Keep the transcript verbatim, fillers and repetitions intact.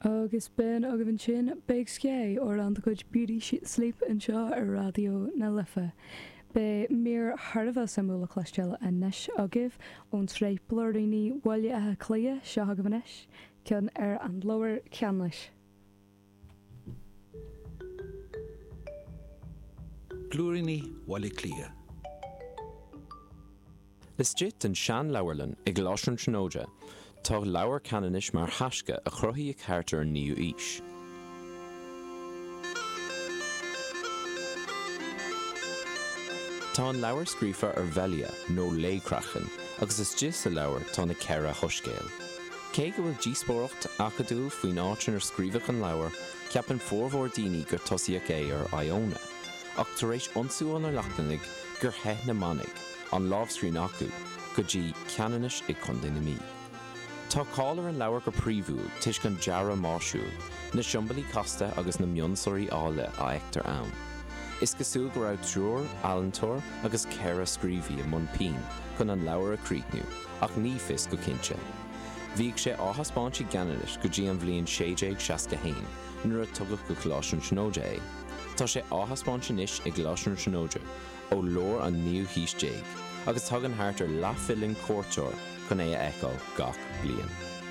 Agus b'in agaibh ansin Big Sky, amhrán de chuid Beauty Sleep anseo ar Raidió na Life. Beidh mír thar a bheith suimiúil le cloisteáil anois agaibh ón tsraith Blúiríní Bhaile Átha Cliath seo agaibh anois, ceann ar an leabhar Ceanannais. Blúiríní Bhaile Átha Cliath. Laistigh den seanleabharlann i gColáiste na Tríonóide, tá Leabhar Ceanannais mar thaisce a cruthaíodh thart ar an naoú haois. Tá an leabhar scríofa ar vellea nó lao-chraiceann agus istigh sa leabhar tá na ceithre shoiscéal. Cé go bhfuil díospóireacht acadúil faoin áit inar scríobhadh an leabhar, ceapann formhór daoine gur tosaíodh é ar Iona, ach tar éis ionsú ó na Lochlannaigh gur theith na manaigh, an lámhscríbhinn acu, go dtí Ceanannas i gContae na Mí. Tá cáil ar an leabhar go príomhúil toisc an dearadh máisiúil, na siombailí casta agus na mionsonraí áille a fheictear ann. Is cosúil go raibh triúr ealaíontóir agus ceithre scríobhaí i mbun pinn chun an leabhar a chríochnú, ach ní fios go cinnte. Bhíodh sé á thaispeáint i gCeanannas go dtí an bhliain sé déag seasca haon, nuair a tugadh go Coláiste na Tríonóide é. Tá sé á thaispeáint anois i gColáiste na Tríonóide ó lár an naoú haois déag, agus tagann thart ar leathmhilliún cuairteoir chun é a fheiceáil gach bliain.